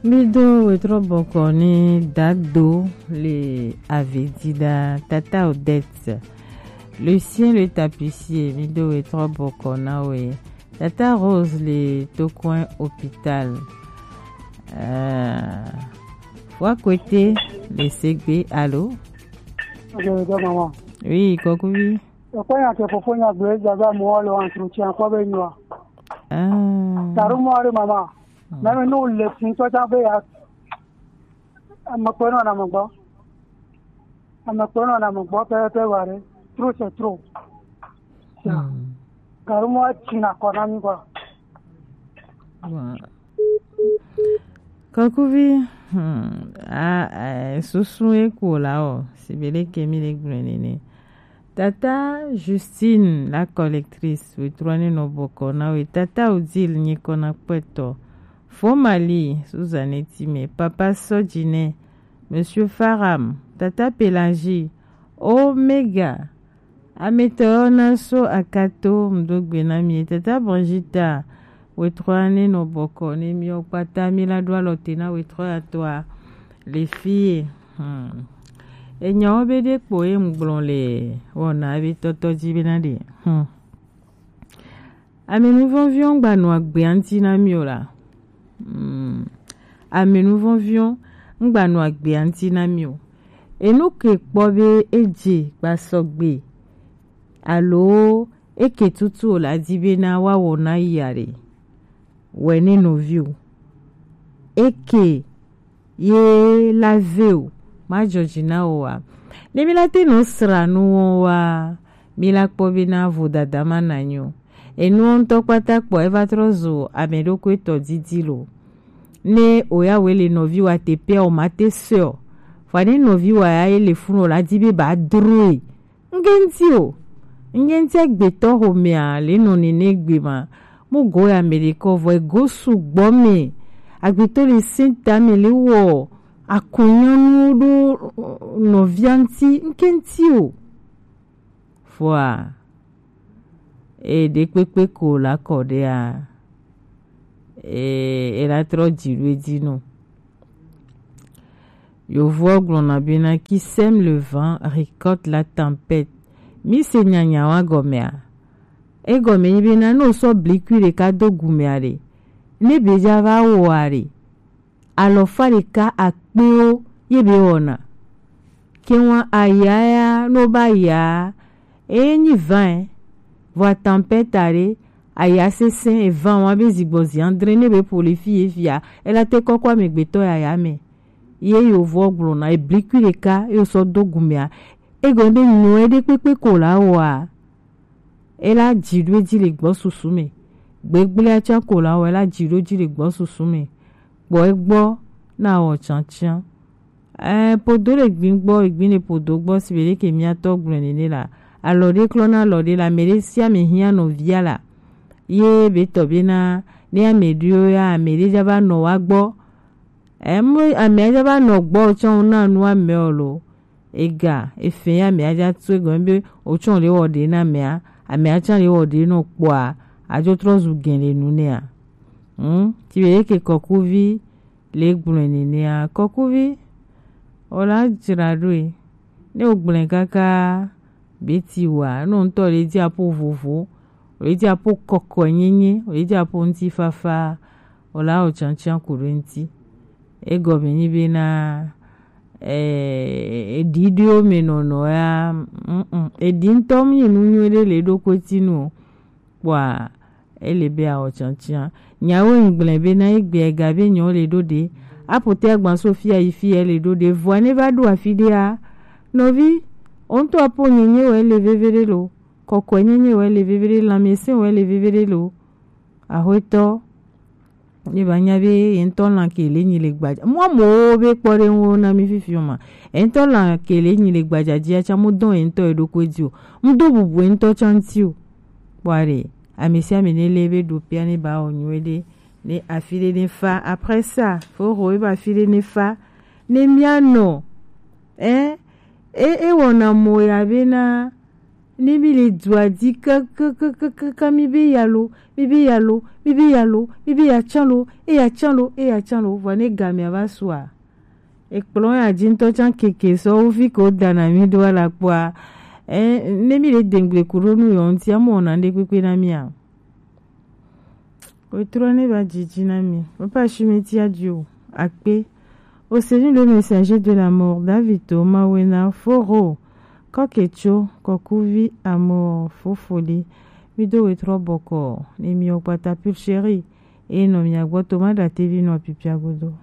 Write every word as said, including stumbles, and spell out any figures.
Mi do wetrɔ bɔkɔ ni Dado le Avedida, Tata Odette, Lucien le tapissier, mi do wetrɔ bɔkɔ na we, Tata Rose le Tokoin hôpital. Euh, Fua Kwete le Segbe, allô? Ok, ok, maman. Oui, Kokuvi. Ekpɔ nya ke fofo nya gblɔ edze abe amewo le entretien kpɔ be nyua. Ah. Taɖo mɔ aɖe mama. Mɛmi ne wòle fi ŋutɔ tsã be ya. Ame kpɔe nɔ ame gbɔ. Ame kpɔe nɔ ame gbɔ pɛpɛpɛ wa ɖe. Trop c'est trop. Hmm. Gaɖo mɔ atsi na kɔ na mi kɔ. Bon. Kokuvi, hmm, a, a, susu eku la o, sibele kemi le gblɔ nene. Tata Justine, la collectrice, wetrɔ ne nɔ bɔkɔ na we. Tata Odile, nye kɔna kpɛtɔ. Fo Mali, Suzanne Time, Papa Sojine, Monsieur Faram, Tata Pelagie, Omega, Ametɔ yɔ na so akato, mdo gbe na mi. Tata Bonjita, wetrɔ ne nɔ bɔkɔ ne mi o kpata mi la do alɔ te na wetrɔ ya tɔa le fie. Hmm. Enyawo be ɖe kpo ye ŋgblɔ le wɔna be tɔtɔ dzi be na ɖe. Hmm. Amenuvɔnviwo ŋgba nɔ agbe ŋuti na mi o la. Hmm. Amenuvɔnviwo ŋgba nɔ agbe ŋuti na mi o. Enu ke kpɔ be edze gbasɔgbe alo eke tutu o la di be na wa wɔ na yi are. Wɛ ne nɔvi o. Eke ye la ve o, ma dzɔ dzi na o wa. Ne mi la te nɔ sra nu wɔn wa, mi la kpɔ be na vodada ma na nyo. Enuwo ŋutɔ kpata kpɔ eva trɔ zo ame ɖokui tɔ didi lo. Ne o ya we le nɔvi wa te pɛ o ma te sɛ o. Fa ne nɔvi wa ya ye le funu o la di be ba droe. Ŋgenti o. Ŋgenti agbetɔ xomea le nɔ nene gbe ma. Mo go ya me ɖe kɔ vɔ ego sugbɔ me. Agbetɔ le senta me le wɔ akɔnyɔnu ɖo nɔvia ŋti. Ŋgenti o. Fua. E ɖe kpekpe ko la kɔ ɖea. E, e la trɔ dzi ɖo edzi nɔ. Yovoɔ gblɔna bena, qui sème le vent récolte la tempête. Mi se nyanyawa gɔmea? Egɔme nyi bena ne wosɔ blikui ɖeka do gumea ɖe, ne be dza va wɔa ɖe, alɔfa ɖeka akpewo ye be wɔna. Keŋwa aya ya, ne woba ya, eye nyi vin, vɔa tempête aɖe, aya sesẽ, evan wa be zigbɔ zi andre ne be ƒo le fi ye fia, ela te kɔkɔ amegbetɔ yaya me. Ye yovoɔ gblɔna, eblikui ɖeka ye wosɔ do gumea, egɔme be nyɔe ɖe kpekpe ko la wɔa, ela dzi ɖo edzi le gbɔ susu me. Gbegblea tsã ko la wɔ, ela dzi ɖo edzi le gbɔ susu me. Kpɔ egbɔ na wɔ tsantsan. Ɛɛ, podo le gbin gbɔ, egbin le podo gbɔ, si be ɖe ke miatɔ gblɔe nene la. Alɔ ɖe klɔ na alɔ ɖe la, ame ɖe sia ame hiã nɔvia la. Ye be tɔ be na, ne ame ɖewo ya, ame ɖe dza va nɔ wa gbɔ. Ɛɛ, mo, ame dza va nɔ gbɔ tsɔ na nu ame o lo. Ega, efe ya ame adza tu egɔme be, o tsɔ le wɔ ɖe na amea, ame atsa le wɔ ɖe nɔ kpɔa, adzo trɔ zu gɛn le nu nea. Hmm, ti be ɖe ke kɔkuvi, le gblɔe nenea, kɔkuvi, o la dzra ɖoe. Ne o gblɔe kaka be ti wa, ne o ŋutɔ le dzi aƒo vovo, o le dzi aƒo kɔkɔe nyenye, o le dzi aƒo ŋutifafa, o la o tsantsan ku ɖo ŋuti. Egɔme nyi bena, eh, eɖiɖiwo me nɔnɔ ya, mm, mm, eɖi ŋutɔ mu nyi nu nyui ɖe le eɖokui ti nu o. Kpɔa, ele be awɔ tsantsan. Nyawo ŋgblẽ be na egbe ega be nyawo le ɖo ɖe. Aƒote agba so fia yi fia le ɖo ɖe. Vɔa ne va ɖo afi ɖea, nɔvi, o ŋutɔ aƒo nyenye wɔ ele veve ɖe lo. Kɔkɔe nyenye wɔ ele veve ɖe, lãmesẽ wɔ ele veve ɖe lo. Axwetɔ, ye ba nya be ye ŋutɔ lã ke le nyi le gbadza. Mo amewo be kpɔɖeŋuwo na mi fifi o ma. Ye ŋutɔ lã ke le nyi le gbadza dzia tsa mo dɔn ye ŋutɔ ye ɖokui dzi o. Mo do bubu ye ŋutɔ tsa ŋuti o. Kpɔa ɖe, ame sia ame ne le be ɖo pia ne ba wɔ nyuie ɖe, ne afi ɖe ne fa. Après ça, fo xo ebe afi ɖe ne fa. Ne mia nɔ, eh, e, e wɔna mo ya be na, Ne mi le dua dzi kakakakaka, mi be ya lo, mi be ya lo, mi be ya lo, mi be ya tsã lo, eya tsã lo, eya tsã lo, vɔ ne gamea va sua. Ekplɔ ya dzi ŋutɔ tsã keke sɔ wo fi ke wo dana mi ɖo ala kpɔa. Eh, ne mi le dengble ku ɖo nu yɔ ŋuti, amɔ na ɖe kpekpe na mi a. Wetro ne va dzidzi na mi. Papa Shumeti Adio, Akpe. Au Seigneur le messager de la mort, David Thomas Wena Foro, Koketso, Kokuvi, Amor, Fofoli. Mi do wetro bɔkɔ, ne mi okpata pulchérie, e nɔ mi agbɔ to ma da tevi nɔ pipia godo.